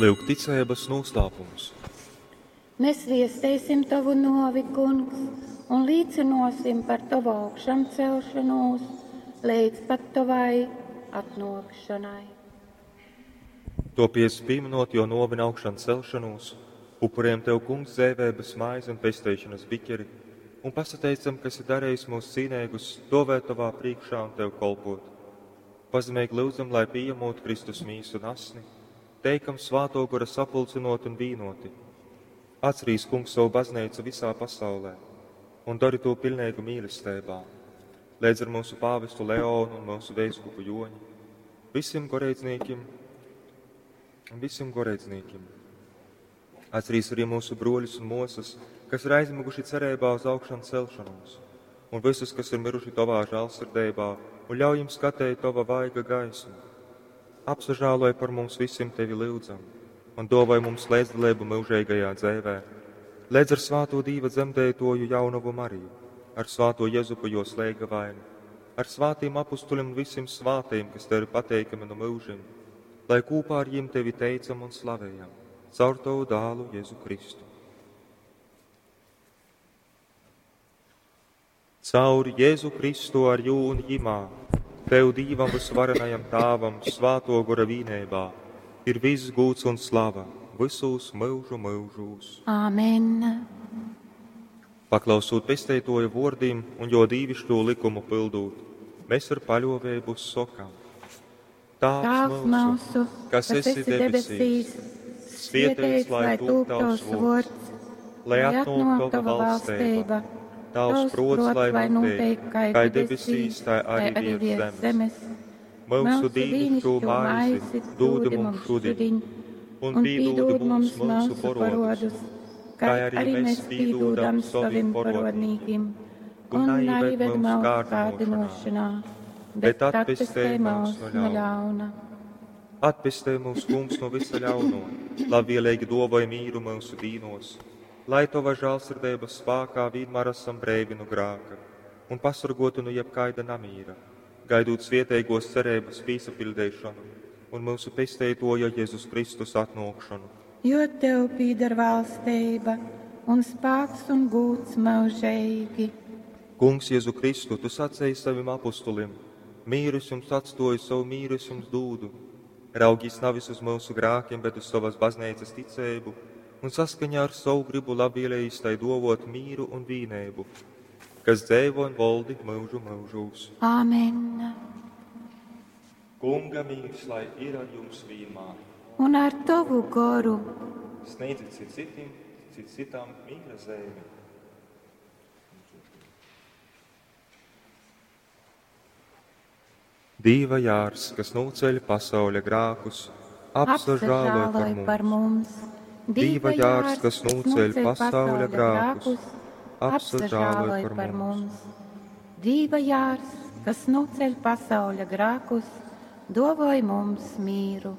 Lyuk ticeibas nūslāpums. Mēs viesteisim Tovu nōvi, Kungs, un līcynōsim par Tovu augšamcelšanūs leidz pat Tovai atnōkšanai. Topiec, pīminot jo nōvi un augšan celšanūs, upurējam Tev, Kungs, dzeiveibas maizi un pesteišanas biķeri, un pasateicam, ka esi darījis mūs cīneigus stovēt Tovā priekšā un Tev kolpot. Pazemīgi lyudzam, lai pieņemot Kristus mīsu un asni, teikam Svāto Gora sapulcinot un vīnoti. Atcerīs, Kungs, savu baznīcu visā pasaulē un dari to pilnīgu mīlestībā, līdz ar mūsu pāvestu Leonu un mūsu veiskupu Joņu, visiem goreidznīkim un visiem goreidznīkim. Atcerīs arī mūsu broļus un mosas, kas ir aizmiguši cerībā uz augšanu celšanos, un visus, kas ir miruši Tavā žēlsirdībā, un ļauj jums skatēt Tava vaiga gaismu. Apsažāloj par mums visiem Tevi lyudzam, un dāvāj mums līdzdalību mūžīgajā dzīvē, līdz ar svāto Dīva dzemdētoju jaunavu Mariju, ar svāto Jezupu jo slēgavainu, ar svātiem apustuļiem un visiem svātiem, kas Tev ir pateikami no mūžiem, lai kopā ar jiem Tevi teicam un slavējam, caur Tavu dālu Jēzu Kristu. Caur Jēzu Kristu ar jū un jimā, Tev Dīvam visvarenajam Tāvam, svāto gora vīnībā, ir viss gūts un slava visos mūžu mūžos. Āmen. Paklausot pesteitoja vōrdim un jo dīvišķo likumu pildūt, mēs ar paļovēbu sokam. Tāvs Tēvs mūsu, kas esi debesīs, svētīts lai tūp tavs vārds, lai atnāk tava valstība, tavs prots, lai notiek, kā debesīs, tā arī virs zemes. Mūsu dīnišķo maizi dod mums šodien, un pīdod mums mūsu porodus, kā arī mēs pīdodam saviem porodnīkim, un neieved mūsu kārdinošanā, bet atpestē mūs no ļauna. Atpestē mūs, Kungs, no visa ļauno, labvēlīgi dovai mīru mūsu dīnos, lai Tava žēlsirdības spākā vienmēr esam breivi no grāka un pasargoti no jebkaida namīra, gaidot svietēgos cerības pīsapildēšanu un mūsu pesteitoja Jēzus Kristus atnākšanu. Jo Tev pīdar valstība un spāks un gūts mūžīgi. Kungs, Jēzu Kristu, Tu sacēji saviem apustulim, mīru es jums atstoju, savu mīru es jums dūdu. Raugīs nevis uz mūsu grākiem, bet uz savas baznīcas ticēbu, un saskaņā ar savu gribu labvēlējis tai dovot mīru un vīnēbu, kas dzēvo un valdi mūžu mūžūs. Āmen. Kunga mīrs, lai ir ar jums vienmēr. Un ar Tavu goru. Sniedziet cit citim, cit citam mīra zemi. Dīva jārs, kas nūceļ pasauļa grākus, apsažāloj par mums. par mums. Dīva jārs, kas nūceļ pasauļa grākus, apsažāloj par mums. Dīva jārs, kas nūceļ pasauļa grākus, dovoj mums mīru.